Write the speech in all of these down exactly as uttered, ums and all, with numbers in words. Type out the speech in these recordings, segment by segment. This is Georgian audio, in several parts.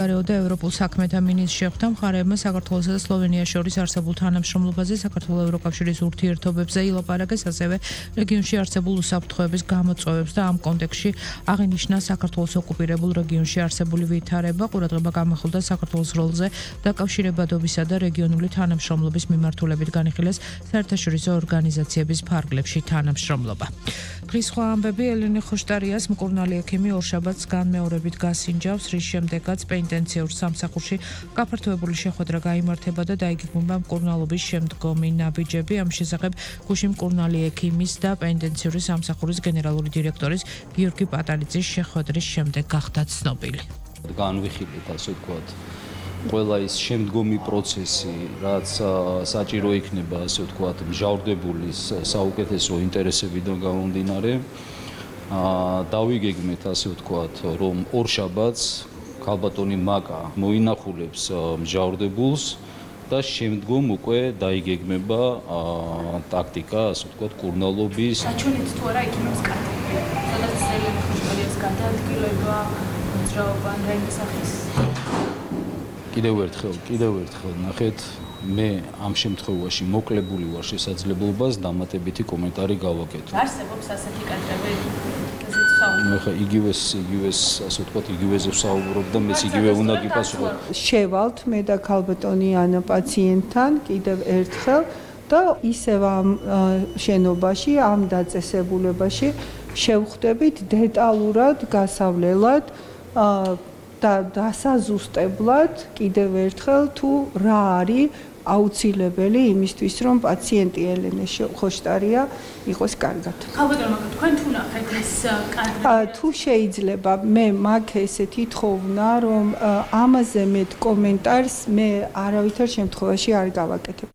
და ევროპულ საქმეთა მინისტრს შეხვდა მხარეებმა საქართველოსა და სლოვენიას შორის არსებულ თანამშრომლობაზე, საქართველოს ევროკავშირის ურთიერთობებზე ილაპარაკეს, ასევე რეგიონში არსებულ უსაფრთხოების გამოწვევებს და ამ კონტექსტში აღინიშნა საქართველოს ოკუპირებულ რეგიონში არსებული ვითარება, ყურადღება გამახვილდა საქართველოს როლზე დაკავშირებადობისა და რეგიონული თანამშრომლობის მიმართულებით განიხილეს საერთაშორისო ორგანიზაციების ფარგლებში თანამშრომლობა. დღის სხვა ამბები ელენე ხოშტარიას მკურნალი ექიმი ორშაბათს განმეორებით გასინჯავს, რის შემდეგაც პენიტენციურ სამსახურში გაფართოებული შეხვედრა გაიმართება და დაიგეგმება მკურნალობის შემდგომი ნაბიჯები. ამ შესახებ გუშინ მკურნალი ექიმის და პენიტენციური სამსახურის გენერალური დირექტორის გიორგი პატალიძის შეხვედრის შემდეგ გახდა ცნობილი. განვიხილეთ, ასე ვთქვათ, ყველა ის შემდგომი პროცესი, რაც საჭირო იქნება, ასე ვთქვათ, მჟავრდებულის საუკეთესო ინტერესებიდან გამომდინარე, დავიგეგმეთ, ასე ვთქვათ, რომ ორშაბათს ქალბატონი მაკა მოინახულებს მჟავრდებულს და შემდგომ უკვე დაიგეგმება ტაქტიკა, ასე ვთქვათ, მკურნალობის. საჩვენებთ თუ არა ექიმებს კარტი, სადაც ელენე ხოშტარიას გადაადგილება, მოძრაობა და იმ სახის. კიდევ ერთხელ, კიდევ ერთხელ ნახეთ, მე ამ შემთხვევაში მოკლებული ვარ შესაძლებლობას დამატებითი კომენტარი გავაკეთო. არსებობს ასეთი კადრები? მე ხა იგივეს, იგივეს, ასე ვთქვათ, იგივეზე ვსაუბრობ და მეც იგივე უნდა გიპასუხო. შევალთ მე და ქალბატონი ანა პაციენტთან კიდევ ერთხელ და ისევ ამ შენობაში, ამ დაწესებულებაში შევხვდებით დეტალურად, გასავლელად და დასაზუსტებლად კიდევ ერთხელ თუ რა არის აუცილებელი იმისთვის, რომ პაციენტი ელენე ხოშტარია იყოს კარგად. ქალბატონო, თქვენ თუ ნახეთ ეს კადრები? თუ შეიძლება, მე მაგ ესეთი თხოვნა, რომ ამაზე მეტ კომენტარს მე არავითარ შემთხვევაში არ გავაკეთებ.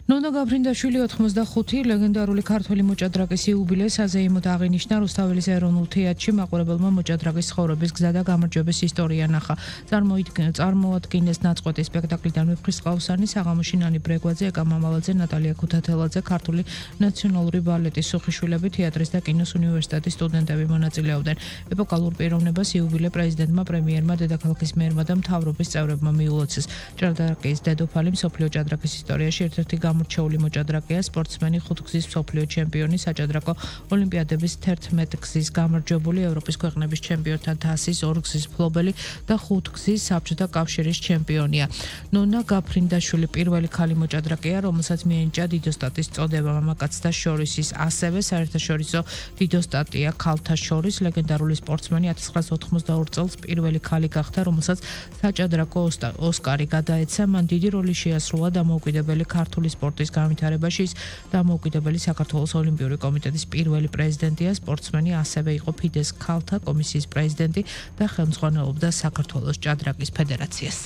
ნონა გაბრინდაშვილი ოთხმოცდახუთი ლეგენდარული ქართველი მოჭადრაკის იუბილეს საზეიმოდ აღინიშნა რუსთაველის ეროვნულ თეატრში მაყურებელმა მოჭადრაკის ცხოვრების გზა და გამარჯვების ისტორია ნახა. წარმოადგინეს ნაწყვეტი სპექტაკლიდან ვეფხისტყაოსანი, საღამოში ნანი ბრეგვაძე, ეკა მამალაძე, ნატალია ქუთათელაძე, ქართული ნაციონალური ბალეტის სუხიშვილები, თეატრის და კინოს უნივერსიტეტის სტუდენტები მონაწილეობდნენ. ეპოქალურ პიროვნებას იუბილე პრეზიდენტმა, პრემიერმა, დედაქალაქის მერმა და მთავრობის წევრებმა მიულოცეს. ჭადრაკის დედოფალი მსოფლიო ჭადრაკის ისტორიაში ერთ-ერთი გამორჩეული მოჭადრაკეა, სპორტსმენი, ხუთგზის მსოფლიო ჩემპიონი, საჭადრაკო ოლიმპიადების თერთმეტ გზის გამარჯვებული, ევროპის ქვეყნების ჩემპიონთა თასის ორგზის მფლობელი და ხუთგზის საბჭოთა კავშირის ჩემპიონია. ნონა გაბრინდაშვილი პირველი ქალი მოჭადრაკეა, რომელსაც მიენიჭა დიდოსტატის წოდება მამაკაცთა შორის, ის ასევე საერთაშორისო დიდოსტატია ქალთა შორის. ლეგენდარული სპორტსმენი ათას ცხრაასი ოთხმოცდაორი წელს პირველი ქალი გახდა, რომელსაც საჭადრაკო ოსკარი გადაეცა. მან დიდი როლი შეასრულა დამოუკიდებელი ქართული სპორტის განვითარებაში. ის დამოუკიდებელი საქართველოს ოლიმპიური კომიტეტის პირველი პრეზიდენტია, სპორტსმენი, ასევე იყო ფიდეს ქალთა კომისიის პრეზიდენტი და ხელმძღვანელობდა საქართველოს ჭადრაკის ფედერაციას.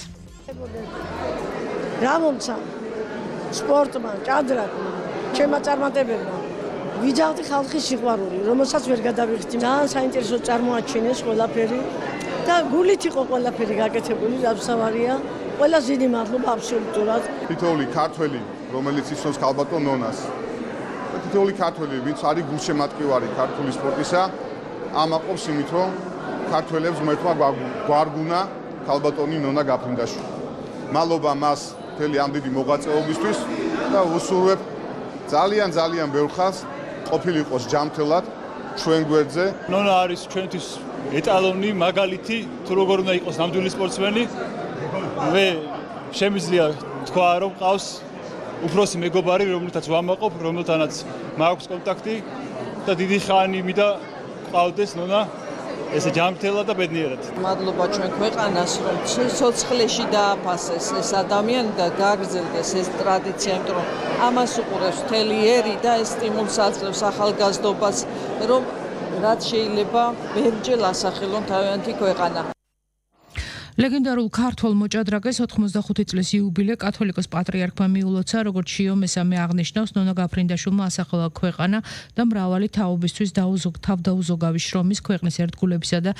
რა მომცა სპორტმა, ჭადრაკმა, ჩემმა წარმატებებმა ვიძახდი ხალხის სიყვარული, რომელსაც ვერ გადავიხდი. ძალიან საინტერესო წარმოაჩინეს ყველაფერი და გულით იყო ყველაფერი გაკეთებული, რასავარია. ყველა ზიდი მადლობა აბსოლუტურად. თითოეული ქართველი, რომელიც იცნობს ქალბატონ ნონას, და თითოეული ქართველი, ვინც არის გულშემატკივარი ქართული სპორტისა, ამაყობს იმით, რომ ქართველებს ღმერთმა გვარგუნა ქალბატონი ნონა გაბრინდაშვილი. მადლობა მას მთელი ამ დიდი მოღვაწეობისთვის და უსურვებ ძალიან ძალიან ბევრ ხალხს ყოფილიყოს ჯანმრთელად ჩვენ გვერდზე. ნონა არის ჩვენთვის ეტალონი, მაგალითი, თუ როგორ უნდა იყოს ნამდვილი სპორტსმენი. მე შემიძლია თქვა, რომ ყავს უფროსი მეგობარი, რომელთაც ვამაყობ, რომელთანაც მაქვს კონტაქტი და დიდი ხანი მინდა ყავდეს ნონა ესე ჯანმრთელად და ბედნიერად. მადლობა ჩვენ ქვეყანას, რომ სიცოცხლეში დააფასეს ეს ადამიანი და გაგრძელდეს ეს ტრადიცია, იმიტომ რომ ამას უყურებს მთელი ერი და ეს სტიმულს აძლევს ახალგაზრდობას, რომ რაც შეიძლება ბევრჯერ ასახელონ თავიანთი ქვეყანა. ლეგენდარულ ქართველ მოჭადრაკეს ოთხმოცდახუთი წლის იუბილე კათოლიკოს პატრიარქმა მიულოცა, როგორც შიო მესამე აღნიშნავს, ნონა გაბრინდაშვილმა ასახელა ქვეყანა და მრავალი თაობისთვის თავდაუზოგავი შრომის, ქვეყნის ერთგულებისა და